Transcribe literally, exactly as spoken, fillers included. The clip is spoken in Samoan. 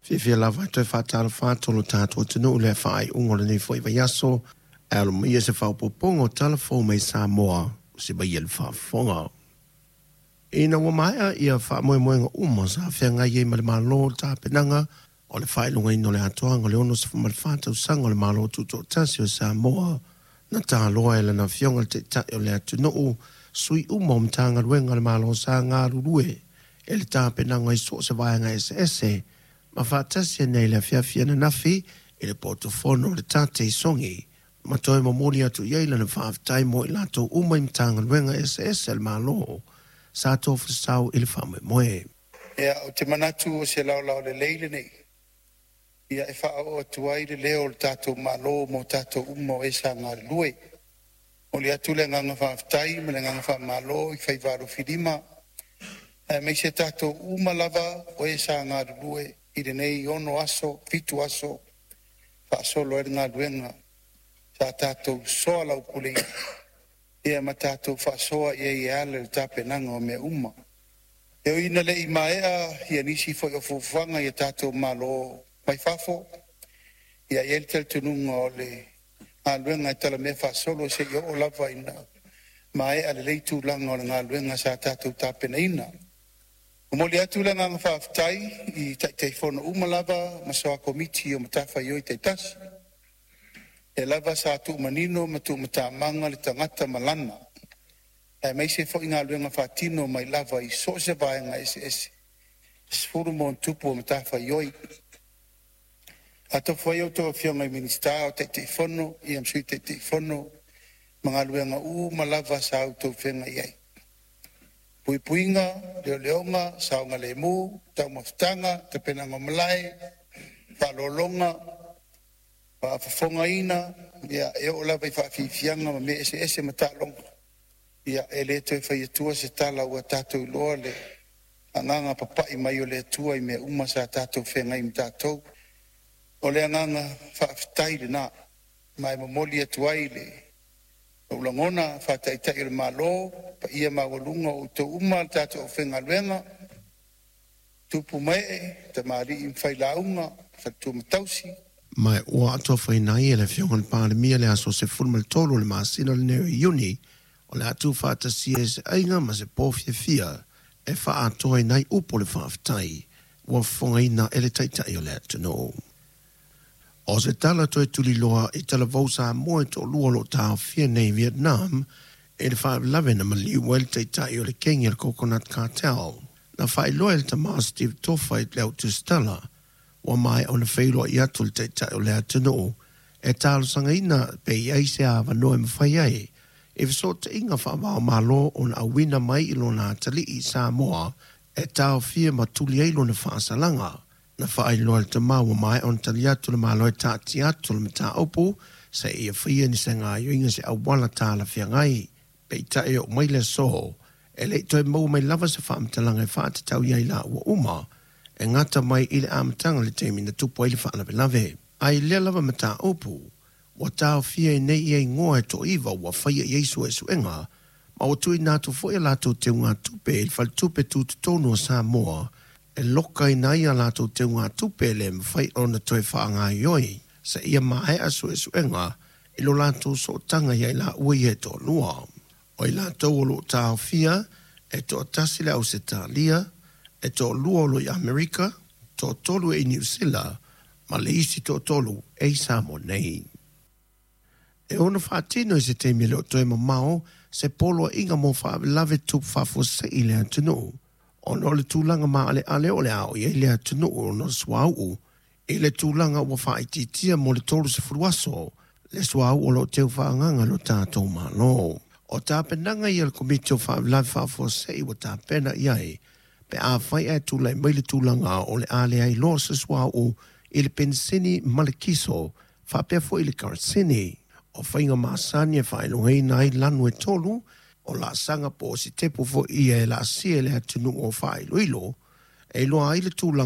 Fiafia lava e toe faatalofa atu lo tatou atunuu i le faaiuga o lenei foi vaiaso. E alo mai se faaopoopoga o tala fou mai Samoa se mai le faafofoga. Ina ua maea ia faamoemoega uma sa feagai ai ma le Malo le tapenaga o le faailogaina o le atoaga o le onosefulu ma le fa tausaga o le Malo Tutoatasi o Samoa, na taloa e lana afioga le Taitai o le atunuu sui uma o Matagaluega a le Malo sa galulue e le tapenaga i so o se vaega eseese ma faatasi ai nei le afiafi ananafi i le potofono o le tate i Sogi ma toe momoli atu i ai lana faafetai mo i latou uma i Matagaluega eseese a le Malo sa tofasau i le faamoemoe. Ia, ou te manatu o se laolao lelei lenei. Ia e faaoo atu ai le leo o le tatou Malo mo tatou uma o e sa galulue. Momoli atu le agaga faafetai ma le agaga faamalo i faiva alofilima aemaise tatou uma lava o e sa galulue i lenei ono aso, fitu aso faasolo ai le galuega sa tatou soalaupuleina ia ma tatou faasoa i ai e ala i le tapenaga o mea uma. E ui ina le i maea ia nisi foi o fuafuaga i a tatou malo mai fafo, ia i ai le talitonuga o le galuega e talamea faasolo seia oo lava ina maea lelei tulaga o le galuega sa tatou tapenaina. Momoli atu le agaga faafetai i Taitaifono uma lava ma soa Komiti o matafaioi taitasi, e lava sa tuumanino ma tuumatamaga le tagata ma lana, aemaise foi galuega faatino mai lava i so o se vaega eseese e sefulu ma ona tupu o matafaioi. Atofo ai outou afioga i Minisita o Taitaifono ia ma Sui Taitaifono ma galuega uma lava sa outou feagai ai. Puipuiga, leoleoga, saogalemu, taumafataga, tapenaga o malae, faaaloaloga, faafofogaina, ia e oo lava i faafiafiaga ma mea eseese ma taaloga. Ia e le toe fai atua se tala ua tatou iloa le agaga papai mai o le Atua i mea uma sa tatou feagai ma tatou. O le agaga faafetai lena, ma e momoli atu ai le lou lagona faataitai o le Malo, paia maualuga o outou uma le tatou aufaigaluega, tupu ma ee, tamalii ma failauga, faletua ma tausi. Ma ua atofaina ai e le afioga i le Palemia le aso sefulu ma le tolu o le masina lenei o Iuni o le atu faatasia e se aiga ma se po fiafia e faaatoaina ai upu o le faafetai ua fofogaina e le Taitai o le atunuu. O se tala toe tuliloa i talavou Samoa e toalua o lo o taofia nei i Vietnam e le faalavelave na maliu ai le taitai o le kegi o le Coconut Cartel. Na faailoa e le tama Steve Tofa i le autusitala ua maea ona feiloai atu le Taitai o le atunuu e talosagaina pe i ai se avanoa e mafai ai e fesootaiga faava-o-Malo ona auina mai i lona atalii i Samoa e taofia ma tuli ai lona faasalaga. Na faailoa le tama ua maea ona tali atu le Malo e taatia atu le mataupu seia faia ni se gaoioiga se auala talafeagai. Peitai oo mai le aso e le i toe maua mai lava se faamatalaga e faatatau i ai laua uma e gata mai i le amataga le taimi na tupu ai le faalavelave. Ae lea lava mataupu ua taofia ai nei ia igoa e toaiva ua faia i ai suesuega ma ua tuuina atu foi a latou teugatupe i le faletupe tutotonu o Samoa e lokaina ai a latou teugatupe e le mafai ona toe faagaoioi seia maea suesuega i lo latou sootaga ia i laua ia e toalua. O i latou o lo o taofia e toatasi le Ausetalia, e toalua o lo i Amerika, toatolu e i Niu Sila, ma le isi toatolu e i Samoa nei. E ono faatino i se taimi e le o toe mamao se poloaiga mo faalavelave tupu faafuasei i le atunuu ona o le tulaga maaleale o le a oo i ai le atunuu ona o le suauu i le tulaga ua faaitiitia mo le tolusefulu aso le suauu o lo o teu faaagaga lo tatou Malo. O tapenaga ia le Komiti o Faalavelave Faafuasei ua tapena i ai pe afai ae tulai mai le tulaga o le a leai loa se suauu i le penisini ma le kiso faapea foi i le karasini. O faiga masani e faailogaina ai lanu e tolu o laasaga po o sitepu foi ia e laasia e le atunuu o faailoilo e iloa ai le tulaga.